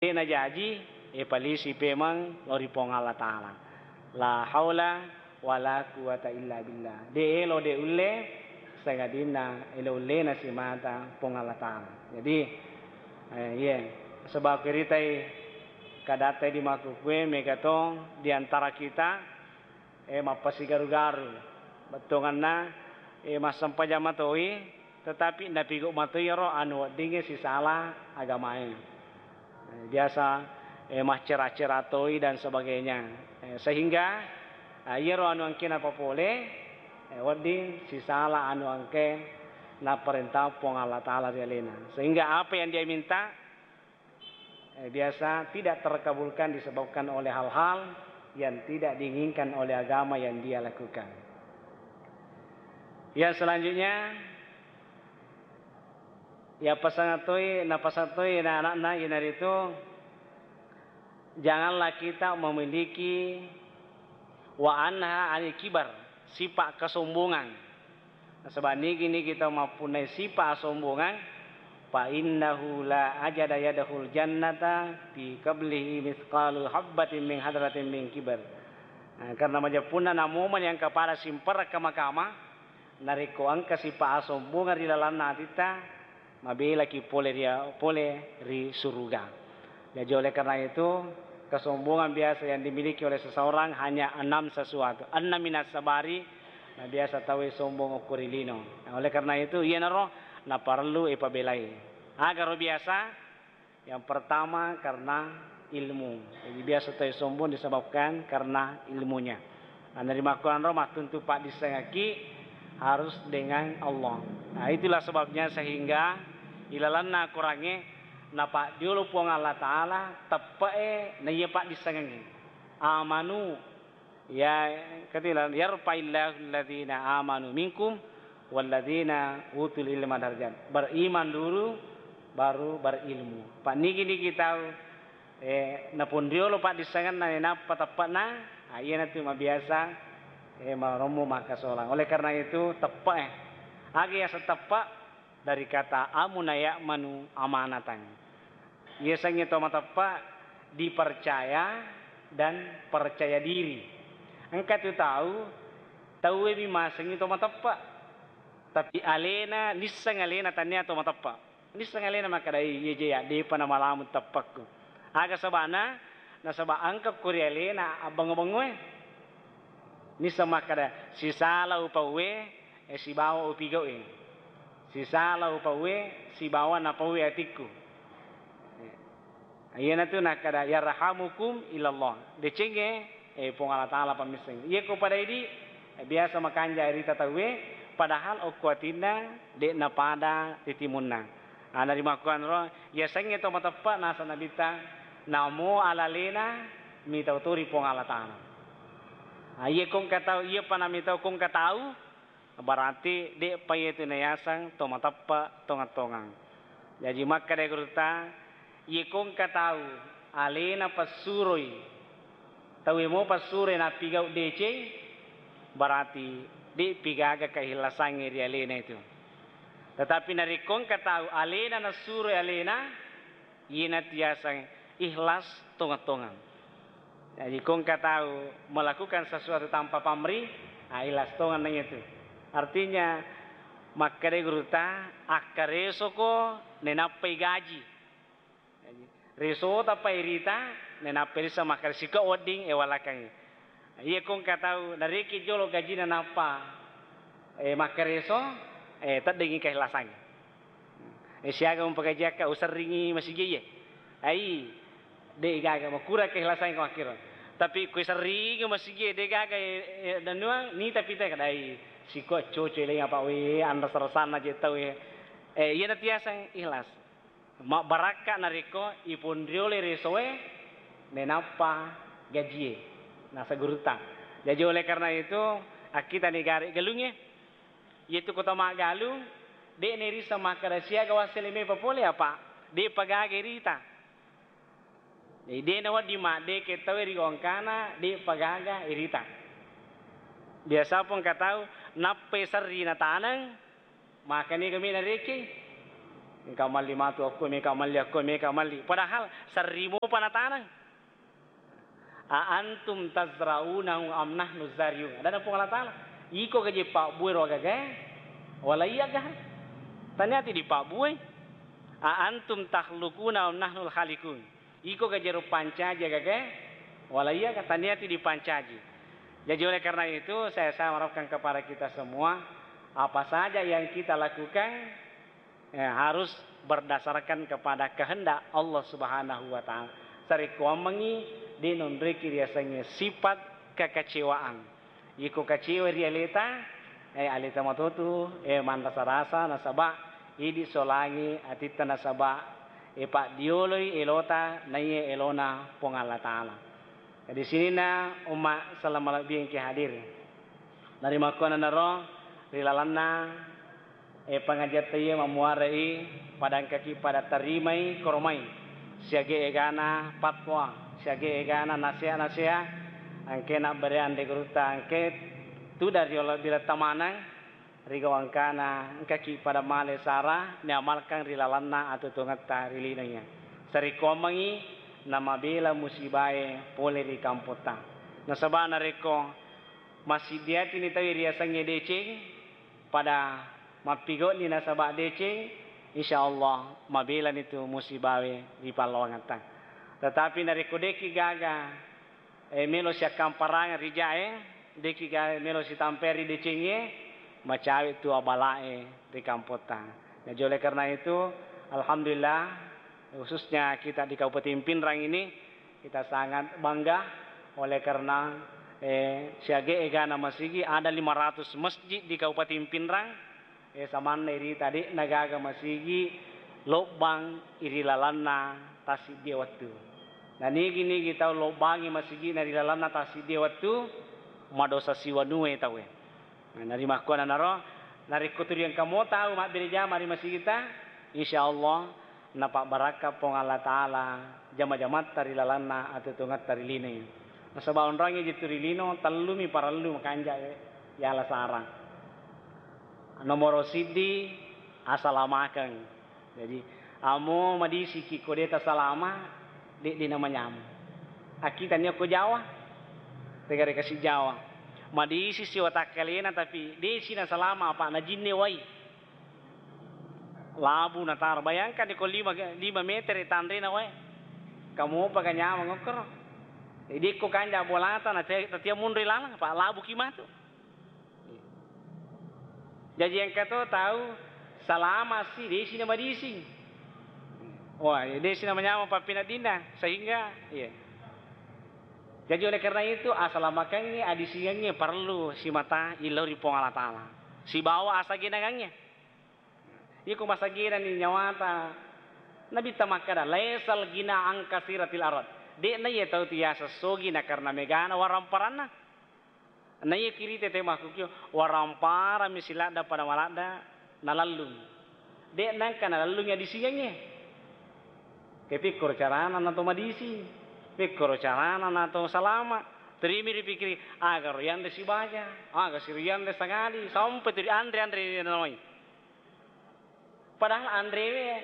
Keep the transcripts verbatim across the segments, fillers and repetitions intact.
Dé' najaji, é, palisi pémeng lao ri Puang Allah Taala. La haula wala quwata illa billah. Dé' élo, dé' ullé, sangadinna élo ulléna simata Puang Allah Taala. Jadi, eh, iyé, sebab kiritai kadatta di makkukkué, méga to di antara kita, eh, mappasigaru-garu. Bettuanna, eh, massempajang matoi, tetapi napigau matoi iyaro anu weddingngé sisala agamaé. Eh, biasa, eh, maccera-cera toi dan sebagainya. Eh, sehingga, ah, iyaro anu engké napapolé, eh, wedding sisala anu engké naparénta Puang Allah Taala ri aléna. Sehingga apa yang dia minta, eh, biasa tidak terkabulkan disebabkan oleh hal-hal yang tidak diinginkan oleh agama yang dia lakukan. Yang selanjutnya, ya, pasang toi, napasang toi na anakna, iyanaritu, janganlah kita memiliki wa anha anil kibar, sifat kesombongan. Nasaba nigi-nigi tau mappunnai sipa asombongang, fa innahu la ajada yadkhul jannata fi qablihi mitsqalu habbatin min hadratin min kibar. Nah, karena majeppunna namomo yang kepada simperra kama-kama, narekko engka sipa asombongang ri lalanna atitta, mabelaki pole ri, pole ri suruga. Jadi oleh karena itu, kesombongan biasa yang dimiliki oleh seseorang hanya enam sesuatu. Enam minas sabari, nah, biasa tauwe sombong okko ri lino. Nah, oleh karena itu, iyanaro naparellu ipabelai. Agaro biasa, yang pertama karena ilmu. Jadi biasa tauwe sombong disebabkan karena ilmunya. Nah, narimakkuanro mattuntu paddissengekki harus dengan Allah. Nah, itulah sebabnya sehingga ilalanna Korangnge napaddiolo Puang Allah Taala teppe'e naiya paddissengengnge. Amanu, ya, katila, "Yarfa'illahu alladzina amanu minkum walladzina utul ilma darajat." Beriman dulu, baru berilmu. Panigi-nigi tau eh, naponriolo paddissengenna, eh, nappa teppe'na, ah, iyanatu mabiasa, eh, marommo makkasolang. Oleh karena itu, teppe', eh. Aga yaseng teppe'? Dari kata amuna ya'manu amanatan. Yasengnge to mateppe' dipercaya dan percaya diri. Engka tu tau, tauwe mi masengngi to mateppe'. Tapi alena, nisseng alena tania to mateppe'. Nisseng alena makkeda, "Iye je, ya, depa namalamu teppekku." Aga sabana? Nasaba engka ko ri alena abbengo-bengoe. Nisseng makkeda, "Sisala upauwe, eh, sibawa upigau'e. Sisala upauwe, sibawa napauwe atikku." Iyanatu nakkeda, "Yarhamukum ilallah." Decengnge, eh, Puang Allah Taala pammisseng. Iya ko pada idi, eh, biasa makanja irita tauwe, padahal okko atinna de'na pada ri timunna. Ah, narimakkuanro, yasengnge to mateppe' nasa Nabitta, namo alalena mitau to ri Puang Allah Taala. Ah, iya ko engka tau, iya pa namitau ko engka tau, Berarti de'pa iyetu nayaseng to mateppe' tongeng-tongeng. Jaji makkeda gurutta, iye ko engka tau alena passuroi, tauwe mo passuroi nappigau deceng, berarti de'pi gaga kaihlasangnge ri alena itu. Tetapi narekko engka tau alena nassuroi alena, iyanatu yaseng ikhlas tongeng-tongeng. Jadi, ko engka tau melakukan sesuatu tanpa pamrih, ah, ikhlas tongeng naiya tu. Artinya, makkeda gurutta, akkaresoko nainappai gaji. Jadi, resota pa irita, nainappai risseng makkeda siko wedding, eh, walakangngi. Iya ko engka tau narekki jolo gajina nappa, eh, makkareso, eh, teddengngi kaihlasangnge. Eh, siaga mupagajiakka userringi masigié. Ai, dé' gaga, makurang keikhlasangnge ko makkiro. Tapi ko iserringi masigié dé' gaga, eh, eh, danuang, nita pita kadai siko coco leng apa wé, anrasa-rasanna je tau, eh. Eh, iyana tiaseng ikhlas. Mabbarakka narekko iponriolé résoé, nainappa gajié, nasa gurutta. Jaji oleh karena itu, akkitani gare' galungngé, iyatu kota maggalung, dé' nairisseng makkeda siaga wassélé mépa polé apa, dé'pa gaga irita. Jadi dé' nawedding maddéké tauwé ri gongkana, dé'pa gaga irita. Biasa pong engka tau, nappai serri nataneng, Makani kami narekki. Engka malli matu akko, meka malli akko, meka malli. Padahal serri mopa nataneng. "A antum tazra'unahu am nahnu zari'un?" Adana Puang Allah Ta'ala, "Iko gaje pabbue ro gagae? Wala iya ga? Taniati dipabbue. A antum takhluquna am nahnul khaliqun?" Iko gajero pancaji gagae? Wala iya ga? Taniati dipancaji. Jadi oleh karena itu, saya, saya harapkan kepada kita semua, apa saja yang kita lakukan, eh, harus berdasarkan kepada kehendak Allah Subhanahu wa Ta'ala. Sarekkoammengngi de nonreki riasengnge sifat kekecewaan. Iko kecewa ri aleta, eh, aleta matotu, eh, manrasa-rasa nasaba idi solangi atitta nasaba, eh, paddioloi elota naiye elona Puang Allah Ta'ala. Jadi sininna umma salama lebbi engke hadir. Narimakkuannanaro ri lalenna, eh, pangajiatta iye mammuarai pada engkaki pada tarimai koromai siage egana fatwa, siage egana naseha-naseha, engke nabbere anre gurutta engke tudang ri olebbi letta maneng ri gau engkana engkaki pada male sara niamalkang ri lalenna atuo-tuongetta ri lino iya. Sarekkoammengngi namabela musibae pole ri kampotta. Nasaba narekko massiddi atini tauwe riasengnge deceng, pada mappigau'ni nasaba deceng, insya Allah mabelani tu musibawe ri pallawangetta. Tetapi narekko de'ki gaga, eh, melo siakkamparangeng ri jae, de'ki gaga melo sitampei ri decengnge, macawe tu abalae ri kampotta. Jadi oleh karena itu, alhamdulillah, khususnya kita di Kabupaten Pinrang ini, kita sangat bangga oleh karena, eh, siage egana masigi ada lima ratus masjid di Kabupaten Pinrang, eh, samanna irita de'na gaga masigi lobbang iri lalanna tassiddie wettu. Na nigi-nigi tau lobbangi masigi'na ri lalanna tassiddie wettu, madosa siwanue tauwe. Nah, narimakkuannanaro, narekko tuli engka mo tau mabbere jama ri masigitta, insya Allah napabbarakka Puang Allah Ta'ala jama-jamatta ri lalanna atuo-tuongetta ri linoe. Nasaba onroangnge jettu ri lino, tellumi parellu makanja yala sarang. Nomoro siddi, asalamakeng. Jadi, amo madisiki ko de tasalama, de, de namanyameng. Akkitanni okko Jawa, tegare kasi Jawa. Madisi si watakkalena, tapi de si nasalama, apa najinne wai. Labu nataro. Bayangkan ko lima, lima meter tanrena wae. Kamopa ga nyameng okkoro. Jadi ko kanja bolata, na te-, tatia munri lalang, apa labu ki matu. Jaji engka to tau salama si, desi na madising. Wah, desi na manyameng pappeneddinna, sehingga, iya. Jaji oleh karena itu, asalamakengnge, adisingengnge parellu simata illau ri Puang Allah Ta'ala. Sibawa asagenangengnge. Iko masagenani nyawata, Nabitta makkada, "Laisal ghina an kasiratil arad." De'na iye tau tiasa sogi na karena megana waramparanna. Naiya kirite te makkukio, waramparami siladda pada maladda nalallung. De' nangka nalallungi adisingengnge. Ke pikkoro carana nato madising, pikkoro carana nato salama. Terimi ripikiri, aga ro yanre sibaja, aga si ro yanre sangali, sampai tu ri anre-anre nawai. Padahal anrewe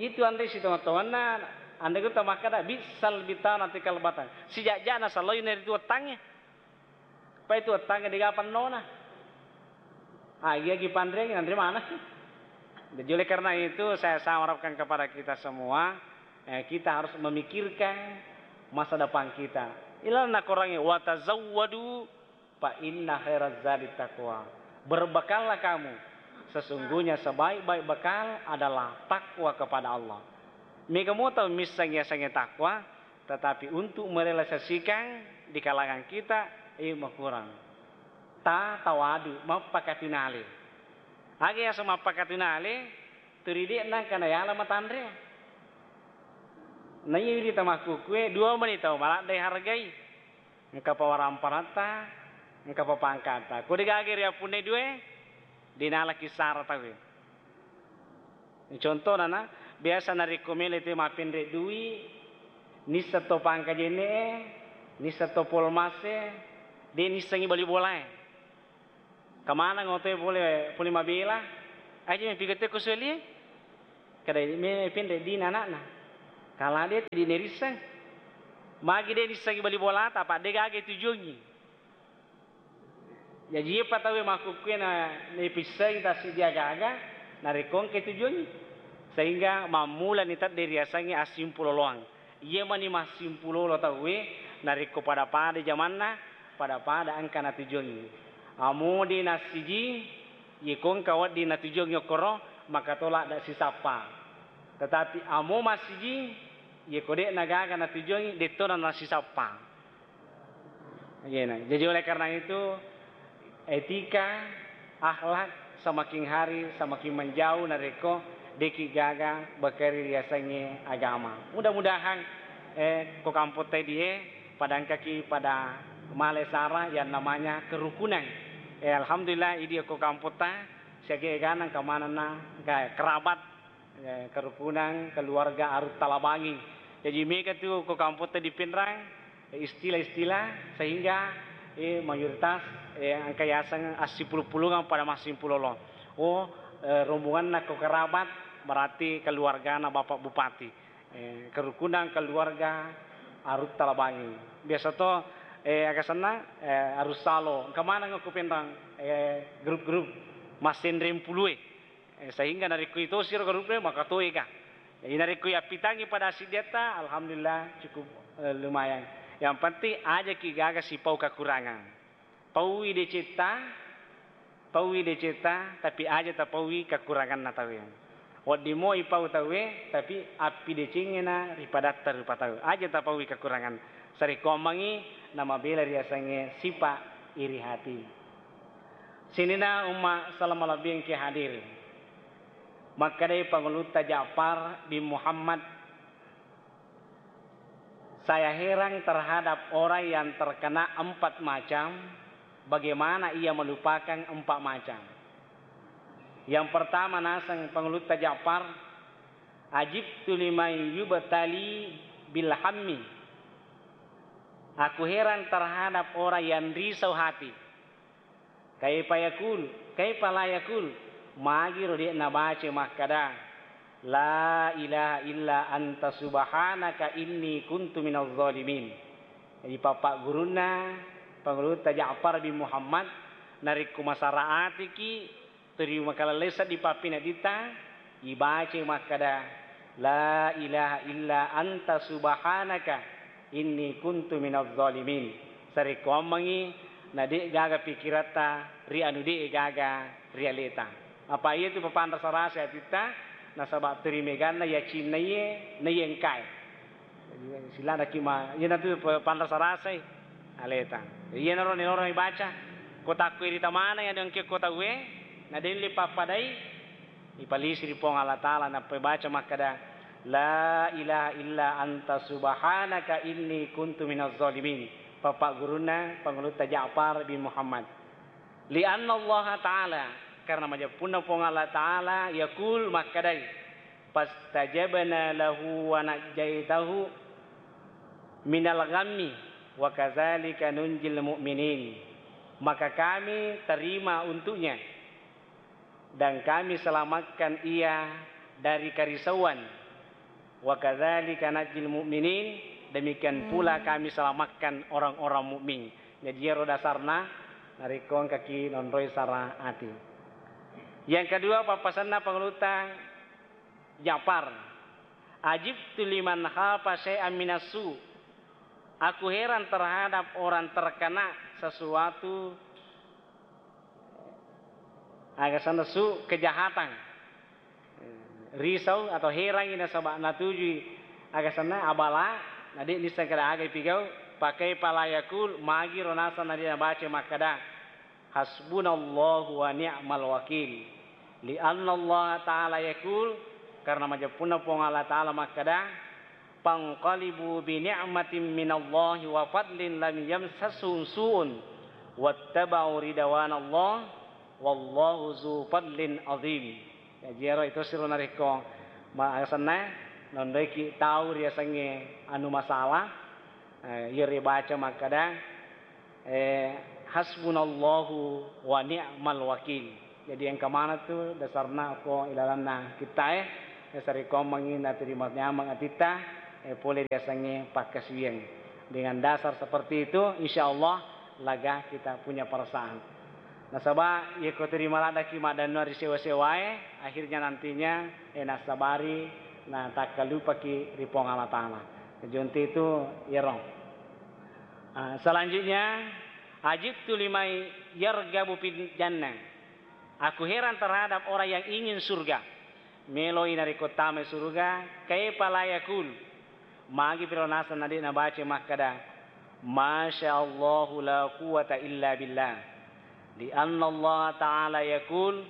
itu anre sitonga-tonganna, anre gutta makkada, "Bi'sal bitanati kal batan." Sijak-jakna salloina ritu wettangnge. Pai tu wettangnge dega pennona. Agi-agi panreangngi nanre maneng. Jadi oleh karena itu saya, saya harapkan kepada kita semua, eh, kita harus memikirkan masa depan kita. Ilalenna Korangnge, "Wa tazawwadu fa inna khairaz zadi taqwa." Berbekallah kamu, sesungguhnya sebaik-baik bekal adalah takwa kepada Allah. Mega mo tau misseng yasengnge takwa, tetapi untuk merealisasikan di kalangan kita, eh, makurang. Ta tawadu, mappakatunale. Aga yaseng mappakatunale, turi de' nangka nayala matanre. Naiya wiri tamakkukue, dua meni tau maladde hargai. Engkapa waramparatta, engkapa pangkatta. Ko degaga riappunnai due, de' nala kissara tauwe. Contohna na, biasa narekko melo te mappenre dui, nisseng to pangka jenne'e, nisseng to polmasse, de' nissengngi bali bolae. Kamanang otoe pole, pole mabela, aja mepigette ko suelie. Kada me penre dina anakna. Kala de' tu dine risseng. Magi de' nissengi bali bolata, apa de' gaga tujuangngi. Jaji, iyapa tauwe makkukkue na, napissengi tassiddi aga-aga, narekko engka tujuangngi. Sehingga mammulani tedde riasengnge assimpuloloang. Iya mani massimpulolo tauwe, narekko pada-pada jamanna, pada-pada engka natujuangngi. Amo de' nassiji, yeko engka wedding natujuangngi okkoro, maka tola da sisappa. Tetapi amo massiji, yeko de' nagaga natujuangngi, detto na nasisappa. Iyena. Jadi oleh karena itu, etika, akhlak semakin hari semakin menjauh narekko de'ki gaga bakari riasengnge agama. Mudah-mudahan, eh, ko kampotta die pada engkaki pada male sara yang namanya kerukunan. Eh, alhamdulillah, idi ko kampotta siaga egana engka manenna, engka kerabat, eh, kerukunan, keluarga Arut Talabanging. Jaji mega tu ko kampotta di Pinrang, eh, istilah-istilah sehingga, eh, mayoritas, eh, engka yaseng assipulung-pulungang pada massimpulolo. Oh, eh, rombonganna ko kerabat berarti keluargana Bapak Bupati. Eh, kerukunan keluarga Arut Talabanging. Biasa to, eh, aga senna, eh, Arut Salo. Engka maneng ko Pinrang, eh, grup-grup massenreng pulue. Eh, sehingga narekko itosiro gruppe, maka toega. Jadi narekko yappitangi pada siddiatta, alhamdulillah cukup, eh, lumayan. Yang penting ajaki gaga sipau kekurangan. Paui decetta, paui decetta, tapi aja tapaui kekuranganna tauwe. Wedding mo ipau tauwe, tapi appidecengngena ripadatta rupa tau. Aja tapaui kekurangan. Sarekkoammengngi namabela riasengnge sipa iri hati. Sininna umma salama lebbi engke hadir. Makkedai Pangulutta Ja'far bin Muhammad, "Saya heran terhadap orang yang terkena empat macam, bagaimana ia melupakan empat macam?" Yang pertama naseng Pangulutta Ja'far, "Ajibtu liman yubtali bil hammi." Aku heran terhadap orang yang risau hati. Kaifa yakul, kaifa la yakul, magiro de' nabaca makkada, "La ilaha illa anta subhanaka inni kuntu minaz zalimin." Jadi, pappagurunna Pangulutta Ja'far bin Muhammad, narekko masara atiki, turi makalellai seddi pappineddita, ibacai makkada, "La ilaha illa anta subhanaka inni kuntu minaz zalimin." Sarekkoammengngi na de' gaga pikiratta ri anu de' gaga ri aleta. Apa iya tu papanrasa-rasa atitta, nasaba' turi meganna yacinna iye, na iye engkae. Jadi, siladaki ma-, iyanatu pa-, panrasa-rasai aleta. Jadi, iyanaro nilorong ibaca, ko takko irita maneng anu engke ko tauwe, na delle pappadai, ipalisi ri Puang Allah Ta'ala, nappa ibaca makkada, "La ilaha illa anta subhanaka inni kuntu minaz zalimin." Pappagurunna Pangulutta Ja'far bin Muhammad. "Lianna Allah Ta'ala," karena majeppunna Puang Allah Ta'ala, "yaqul," makkadai, "Fastajabna lahu wa najjaitahu minal ghammi wa kadzalika nunjil mu'minin." Maka kami terima untuknya dan kami selamatkan ia dari kerisauan. "Wa kadzalika najzil mu'minin," demikian pula kami selamatkan orang-orang mukmin. Jadi, iyaro dasarna narekko engkaki nonroi sara ati. Yang kedua, pappasenna Pangulutta Ja'far, "Ajibtu liman khafa syai'an minas su." Aku heran terhadap orang terkena sesuatu, aga senna su, kejahatan. Risau atau herangi nasaba' natujui aga senna abala, na de' nisseng kada aga ipigau, pakai pala yakul, magiro naseng na de' nabaca makkada, "Hasbunallahu wa ni'mal wakil." Lianna Allah Ta'ala yakul, karena majeppunna Puang Allah Ta'ala makkada, "Fanqalibu bi ni'matin minallahi wa fadlin lam yamsashum su'un wattaba'u ridwanallah wallahu zu fadlin azim." Jaji, ero itu siro narekko ma-, asenna nondoiki tau riasengnge anu masalah, eh, iyo ribaca makkada, eh, "Hasbunallahu wa ni'mal wakil." Jadi, engka maneng tu dasarna ko ilalanna kittae, eh, sarekkoammengngi naterima nyameng atitta, eh, pole riasengnge pakkasiwiang. Dengan dasar seperti itu, insya Allah lega kita punya perasaan. Nasaba iyako terima laddaki maddanua ri sewa-sewae, akhirnya nantinya, eh, nassabari natakkalupaki ri Puang Allah Ta'ala. Jadi untuk itu, iyaro. Ah, selanjutnya, ajibtu liman yarghabu fil jannah. Aku heran terhadap orang yang ingin surga. Meloi narekko tamai surga, kaifa la yaqul? Magi piro naseng nade nabaca makkada, "Masya Allahu la quwwata illa billah." Di anna Allah Ta'ala yaqul,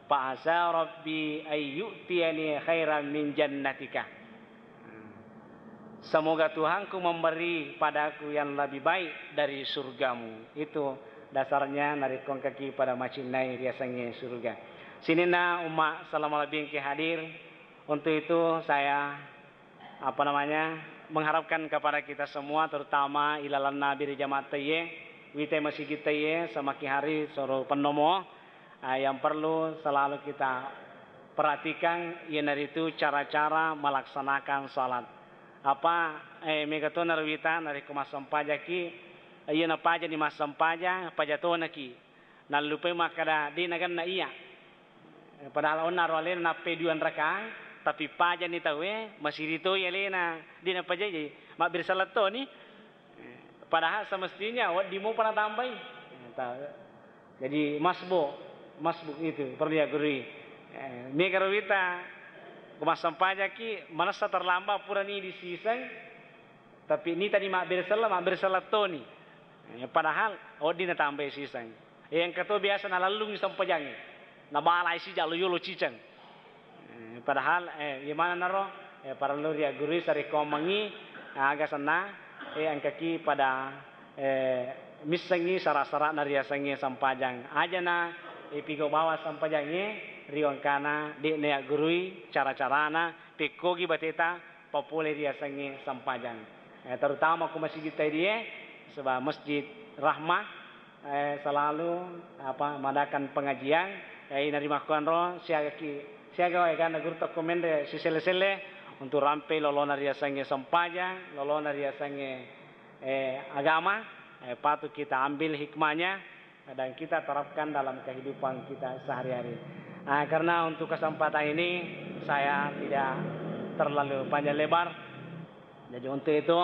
"Fa asa Rabbi ay yu'tiyani khairan min jannatika." Semoga Tuhanku memberi padaku yang lebih baik dari surgamu. Itu dasarnya narekko engkaki pada macinnai riasengnge surga. Sininna umma salama lebih engke hadir. Untuk itu saya, apa namanya, mengharapkan kepada kita semua, terutama ilalanna biri jamaah taiye, wite masigi taiye, semakin hari soro pennomo, ah, yang perlu selalu kita perhatikan iyanaritu cara-cara melaksanakan salat. Apa, eh, mega to narwita narekko massempajaki, iya napajani massempajang, paja tonaki. Nallupai makkada, de nagenna iya. Padahal onna ro alena nappai duang rakaang, tapi pajani tauwe, masiri toi alena, de napajai, mabbere sellettoni. Padahal semestinya wedding mopa natambai. Ta-, jadi masbuk, masbuk itu perlu ya gurui. Eh, mega ro wita, ko massempajaki, manessa terlambat purani disiseng, tapi nitani mabbere selleng, mabbere sellettoni. Eh, padahal wedding natambai siseng. Eh, engka to biasa nalellungi sempajangnge. Nabalai sijak lo yolo ciceng. Eh, padahal, eh, iya maneng naro, eh, parellu riaggurui sarekkoammengngi, eh, aga senna, eh, engkaki pada, eh, missengngi sara-sarana riasengnge sempajang. Ajana, eh, pigau bawang sempajangnge, ri wengkana de'na yaggurui cara-carana, pekkogi bateta, papole riasengnge sempajang. Eh, terutama ko masigi taidie, saba Masjid Rahmah, eh, selalu, apa, madakan pengajian, eh, ina rimakkuanro, siagaki, siaga wae ganna guru tokko menre siselle-selle untuk rampe lolona riasengnge sempajang, lolona riasengnge, eh, agama, eh, patut kita ambil hikmahnya, dan kita terapkan dalam kehidupan kita sehari-hari. Ah, karena untuk kesempatan ini saya tidak terlalu panjang lebar. Jadi untuk itu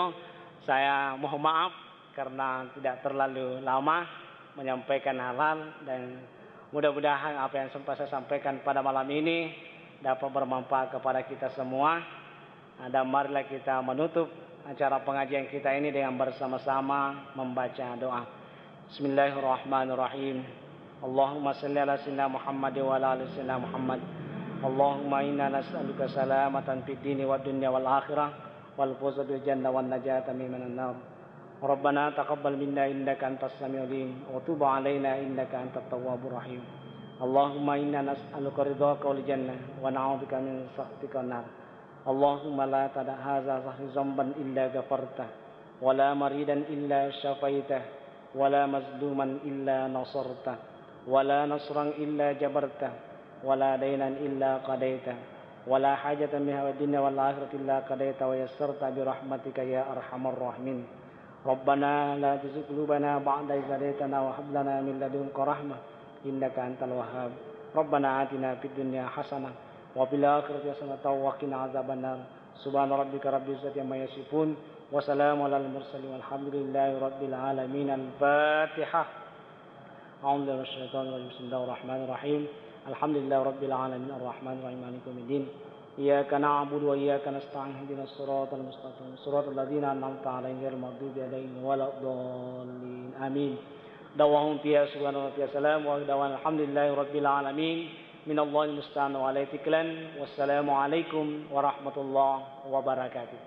saya mohon maaf karena tidak terlalu lama menyampaikan hal-hal dan mudah-mudahan apa yang sempat saya sampaikan pada malam ini dapat bermanfaat kepada kita semua. Dan marilah kita menutup acara pengajian kita ini dengan bersama-sama membaca doa. Bismillahirrahmanirrahim. Allahumma salli ala sayyidina Muhammad wa ala ali sayyidina Muhammad. Allahumma inna nas'aluka salamatan fid dini wad dunya wal akhirah wal fawza bil jannah wan najata minan nar. Rabbana taqabbal minna innaka antas samiul alim wa tub alaina innaka antat tawwabur rahim. Allahumma inna nas'aluka ridhaka wal jannah wa na'udzubika min sakhatika wan nar. Allahumma la tada' hadza dzahri dzanban illa ghafartah, wa la maridan illa syafaitah, wa la mazluman illa nasartah, wa la nasran illa jabartah, wa la dainan illa qadaitah, wa la hajatan min hawaid dunya wal akhirati illa qadaitah wa yassartah bi rahmatika ya arhamar rahimin. Rabbana la tuzigh qulubana ba'da idh hadaytana wa hab lana min ladunka rahmah innaka antal wahhab. Rabbana atina fid dunya hasanah wa fil akhirati hasanatan wa qina adzabannar. Subhana rabbika rabbil izzati amma yasifun. Wa salamun alal mursalin walhamdulillahi rabbil alamin. Al-Fatihah. أعوذ بالله من الشيطان الرجيم. بسم الله الرحمن الرحيم. الحمد لله رب العالمين. الرحمن الرحيم. مالك يوم الدين. إياك نعبد وإياك نستعين. اهدنا الصراط المستقيم. صراط الذين أنعمت عليهم غير المغضوب عليهم ولا الضالين. آمين. دعواهم فيها سبحان ربك سلام وآخر دعوانا الحمد لله رب العالمين. من الله المستعان وعليه التكلان. والسلام عليكم ورحمة الله وبركاته.